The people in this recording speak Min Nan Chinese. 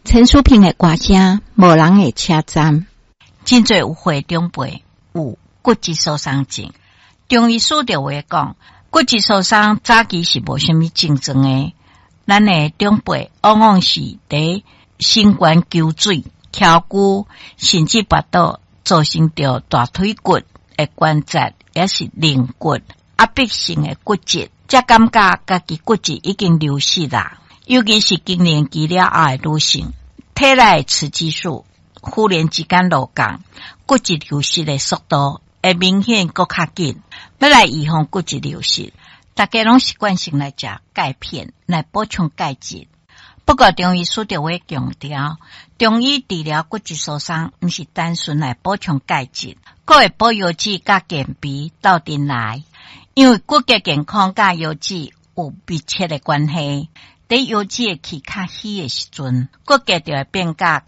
陳淑萍的歌聲，無人會車站。真濟有歲長輩有骨質疏鬆症。中醫師就會講，骨質疏鬆早期是無啥物症狀的。咱的長輩往往是佇身懸求水、蹺龜，甚至跋倒，造成著大腿骨的關節，抑是龍骨壓迫性的骨折，才感覺家己骨質已經流失啦。尤其是更年期了後的女性，體內雌激素忽然之間落降，骨質流失的速度會明顯閣較緊。欲來預防骨質流失，大家攏習慣性來食鈣片來補充鈣質。不過中醫師就會強調，中醫治療骨質疏鬆，毋是單純來補充鈣質，閣會補腰子佮健脾鬥陣來。因為骨骼健康佮腰子有密切的關係。佇腰子的氣較虛的時陣，骨骼就會變甲較